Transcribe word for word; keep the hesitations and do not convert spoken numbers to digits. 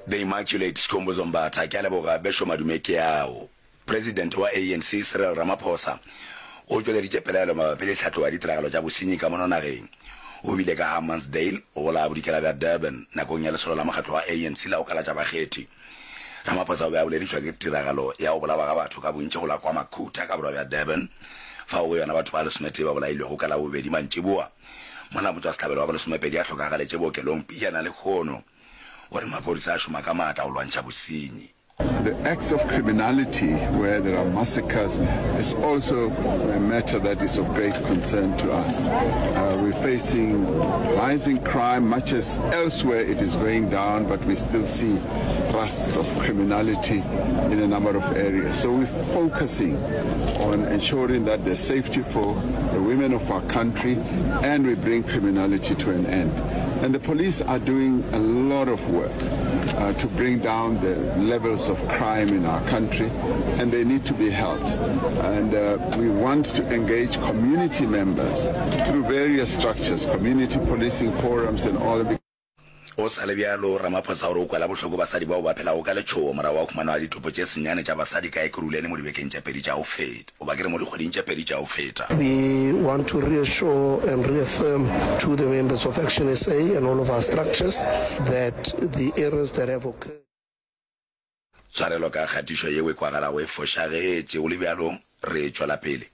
The Immaculate Skhumbuzo Mbatha, Ke a leboga bešo madume ke ao. Presidente wa A N C Cyril Ramaphosa o tšweleditše pelaelo mabapi le tlhatlogo ya ditiragalo tša bosenyi ka mono nageng. O bile ka Hammansdale go la bodikela bja Durban nakong ya lesolo la mokgatlo wa A N C la go kalatša bakgethi. Ramaphosa o be a boledišwa ke tiragalo ya go bolawa ga batho ka bontši go la KwaMakhutha ka borwa bja Durban fao go yona batho ba lesometee ba bolailwego ka Labobedi mantšiboa mola motšwasehlabelo wa bolesomepedi a hlokagaletše bookelong pejana lehono. O re maphodisa a šoma ka maatla go lwantšha bosenyi. The acts of criminality where there are massacres is also a matter that is of great concern to us. Uh, we're facing rising crime, much as elsewhere it is going down, but we still see thrusts of criminality in a number of areas. So we're focusing on ensuring that there's safety for the women of our country and we bring criminality to an end. And the police are doing a lot of work uh, to bring down the levels of crime in our country, and they need to be helped. And uh, we want to engage community members through various structures, community policing forums and all of Go sa le bjalo, Ramaphosa o re o kwela bohloko basadi bao ba phelago ka letšhogo morago ga go humanwa ga ditopo tše senyane tša basadi ka Ekurhuleni mo dibekeng tše pedi tša go feta, goba ke re mo dikgweding tše pedi tša go feta. We want to reassure and reaffirm to the members of Action S A and all of our structures that the errors that have occurred. Tshwarelo ka kgatišo yeo e kwagalago e fošagetše, go le bjalo re tšwela pele.